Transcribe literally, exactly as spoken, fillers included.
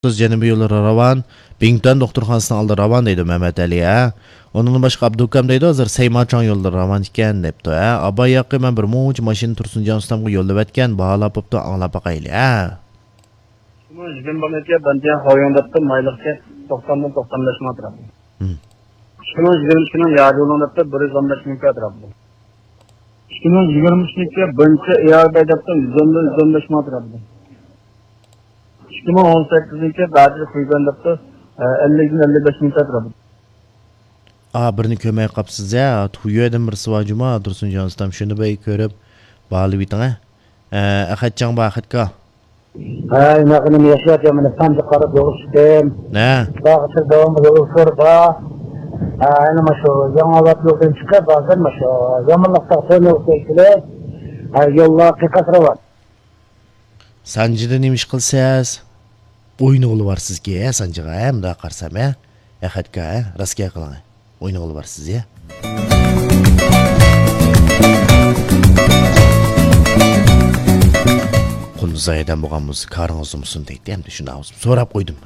سىز جەنۇبىي يوللىرى راۋان، بىڭتۈەن دوختۇرخانىسىنىڭ ئالدى راۋان دەيدۇ مەمەت ئەلى، ھە. ئۇنىڭدىن باشقا ئابدۇكام دەيدۇ، ھازىر سەيماچاڭ يوللىرى راۋان ئىكەن دەپتۇ، ھە. ئاباي ياقى مەن بىر مۇنچە ماشىنا تۇرسۇنجان ئۇستامغا يوللىۋەتكەن، باھالاپ بوپتۇ، ئاڭلاپ باقايلى، ھە. ئىككى مىڭ يىگىرمە بىرنىڭكى بەنتيەن خاۋيوڭ دەپتۇ، مايلىقكە توقساندىن توقسان بەش مىڭ ئەتراپىدا. ھىم. ئىككى مىڭ يىگىرمە ئىككىنىڭ ياجۇلۇڭ دەپتۇ، بىر يۈز ئون بەش مىڭ ئەتراپىدا. ئىككى مىڭ يىگىرمە ئۈچنىڭكى بىرىنچى ئىياربەي دەپتۇ، يۈز ئون بىر، يۈز ئون بەش مىڭ ئەتراپىدا. ئىككى مىڭ ئون سەككىزنىڭكى بەدىل خۇيگەن دەپتۇ، ئەللىكتىن ئەللىك بەش مىڭ ئەتراپىدا. ئا، بىرنى كۆرمەي قاپسىز ھە، تۇيۇەدىن بىرسى بار جۇما، تۇرسۇنجان ئۇستام، شۇنى بىر كۆرۈپ، باھالىۋېتىڭ ھە. ئە، ئەخەتجان بار، ئەخەتكا. ھە، ئىناقىنىم ياشاپ، يامىنى سانجىق قاراپ يولغا چىقتىم. نە؟ باغچە داۋامى يولغا بار. ھە، ئەنە ماشۇ ياڭى ئاۋات يولدىن چىقىپ، ھازىر ماشۇ يامانلىق تاغ تۆنى ئۆتكەيسىلەر. ھە، يوللار قىيقاس راۋان. سانجىدا نېمە ئىش قىلىسىز؟ ئوينىغىلى بارسىزكى، ھە، سانجىغا، ھە، مۇنداق قارىسام، ھە؟ ئەخەتكا، ھە؟ راست گەپ قىلىڭ. ئوينىغىلى بارسىز، ھە؟ قۇندۇز ئايدەم بولغان بولسا، كارىڭىز ئۇزىمىسۇن دەيتتى، ئەمدى شۇنداق بولسا سوراپ قويدۇم.